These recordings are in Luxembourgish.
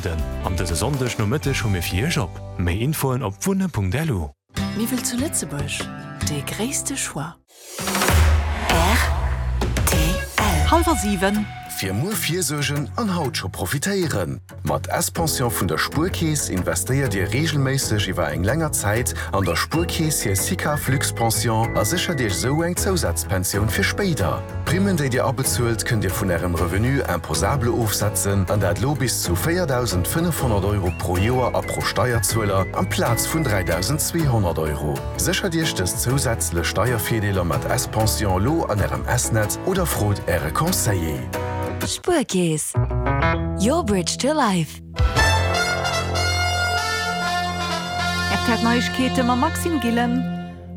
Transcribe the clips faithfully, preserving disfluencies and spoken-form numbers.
ugebueden. An dëse Sonndeg Nomëtteg hu mir fir Iech op. Méi Infoen op wunne Punkt L U. Miwwel zu Lëtzebuerg, de gréisste Choix. Hallwer siwen. Fir muer virsuergen an haut scho profitéieren. Mat S-Pension vun der Spuerkeess investéiert Dir reegelméisseg iwwer eng länger Zäit an der Spuerkeess hir SICAV Luxpension a séchert Iech sou eng Zousazpensioun fir spéider. D'Primmen, déi Dir abezuelt, kënnt Dir vun Ärem Revenu imposable ofsetzen an dat lo bis zu véierdausendfënnefhonnert Euro pro Joer a pro Steierzueler amplaz vun dräidausendzweehonnert Euro. Séchert Iech dës zousätzlech Steiervirdeeler mat S-Pension lo an Ärem S-Net oder frot Äre Conseiller. Spuerkeess. Your bridge to life. R T L Neiegkeete mam Maxime Gillen.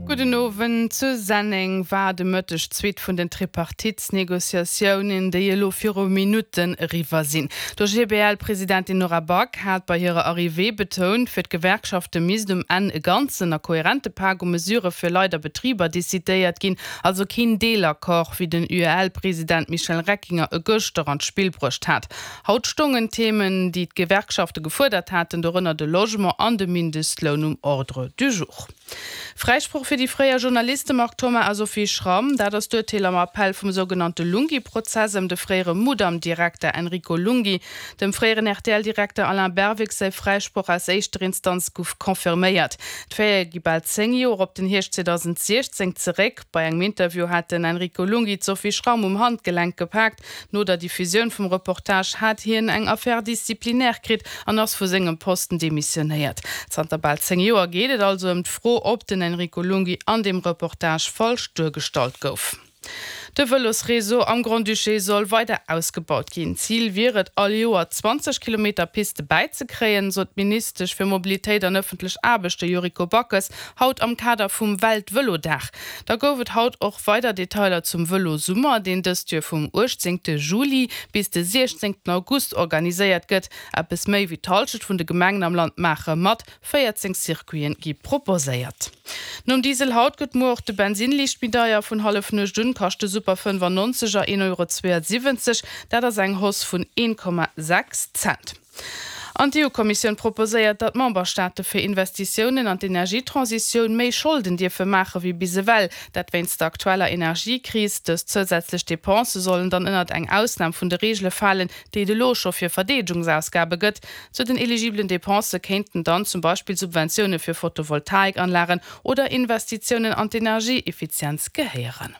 Gudden Owend. Zu Senneng war de Mëtteg d'zweet vun den Tripartitsnegociatiounen, déi elo viru Minutten eriwwer sinn. D' O G B L-Presidentin Nora Back hat bei hirer Arrivée betount, fir d'Gewerkschafte misst um Enn e ganzen a koherente Pak u Mesurë fir Leit a Betriber decidéiert ginn, also keen Deelaccord, wéi den U E L-President Michel Reckinger e gëschter an d'Spill bruecht hat. Haut stoungen Themen, déi d'Gewerkschafte gefuerdert haten, dorënner de Logement an de Mindestloun um Ordre du jour. Fräisproch fir déi fréier Journaliste Marc Thoma a Sophie Schram, dat ass d'Urteel am Appell vum sougenannte Lunghi-Prozess ëm de fréiere Mudam-Direkter Enrico Lunghi. Dem fréieren R T L-Direkter Alain Berwick säi Fräisproch aus éischter Instanz gouf confirméiert. D'Faite gi bal zéng Joer op den Hierscht zweedausendsiechzéng zeréck. Bei engem Interview hat den Enrico Lunghi d'Sophie Schram um Handgelenk gepaakt. No der Diffusioun vum Reportage hat hien eng Affaire disciplinaire kritt an ass vu sengem Posten demissionéiert. Zanter bal zéng Joer geet et also ëm d'Fro, ob den Enrico Lunghi an dem Reportage falsch duergestallt gouf. De Vëlosreseau am Grand-Duché soll weider ausgebaut ginn. Zil wier et, all Joer zwanzeg Kilometer Piste bäizekréien, sot d'Ministesch fir Mobilitéit an ëffentlech Aarbechte Yuriko Backes haut am Kader vum Weltvëlodag. Da gouf et haut och weider Detailer zum Vëlosummer, deen dëst Joer vum uechtzéngte Juli bis de siechzéngten August organiséiert gëtt. Eppes méi wéi d'Hallschent vun de Gemengen am Land maache mat, véierzéng Circuiten gi proposéiert. Nom Diesel haut gëtt muer och de Bensinn liicht méi deier. Vun Hallefnuecht un kascht de Super fënnefannonzeger een Euro zweeënsiwwenzeg, dat ass eng Hausse vun een Komma sechs Cent. An d'E U-Kommissioun proposéiert, datt d'Memberstaate fir Investitiounen an d'Energietransitioun méi Scholden dierfe maache wéi bis ewell, dat wéinst der aktueller Energiekris. Dës zousätzlech Depensë sollen dann ënnert eng Ausnam vun de Reegele falen, déi et elo scho fir Verdeedegungsausgabe gëtt. Zu den eligibelen Depensë kéinten dann zum Beispill Subventioune fir Photovoltaikanlagen oder Investitiounen an d'Energieeffizienz gehéieren.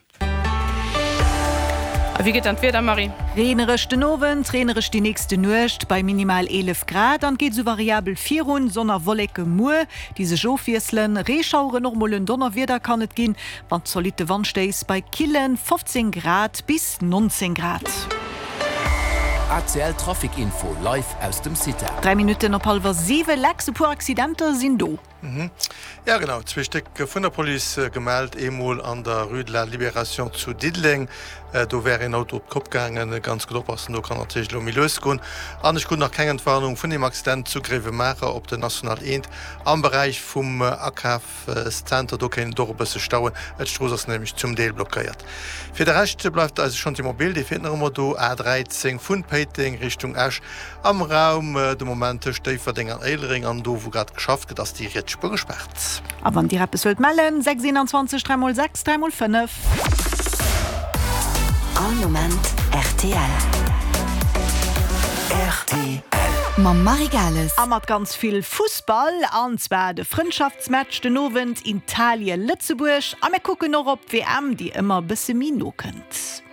A wéi geet dann d'Wieder, Marie? Reenereg den Owend, reenereg déi nächste Nuecht bei minimal eelef Grad an geet sou variabel virun, Sonn a Wolleke muer, déi sech ofwiesselen, Reeschaueren, och mol en Donnerwieder kann et ginn, mat zolitte Wandstéiss bei kille fofzéng Grad bis nonzéng Grad. A C L Trafic Info live aus dem CITA. Dräi Minutten op hallwer siwe. Lex, e puer Accidenter sinn do. Ja genau, zwee Stéck vun der Police gemellt, eemol an der Rue de la Libération zu Diddeleng, do wär een Auto op d'Kopp gaangen, ganz gutt oppassen, do kann natierlech elo méi lues goen. An ech krut nach keng Entwarnung vun deem Accident zu Gréiwemaacher op der National eent am Beräich vum Akafszenter, do kéint et och e bësse stauen, d'Strooss ass nämlech zum Deel blockéiert. Fir de Rescht bleift eise Chantier mobile, dee fiert nach ëmmer do, A dräizéng vun Péiteng Richtung Esch am Raum de Moment tëscht Déifferdeng an Éilereng an do wou grad geschafft gëtt ass déi riets Spuer gespaart. A wann Dir eppes wëllt mellen, sechs eenanzwanzeg dräi mol sechs dräi mol fënnef. All Moment R T L. R T L. Mam Marie Gales. A mat ganz vill Fussball, an zwar de Frëndschaftsmatch den Owend Italien-Lëtzebuerg. A mir kucken och op d'W M, déi ëmmer e bësse méi no kënnt.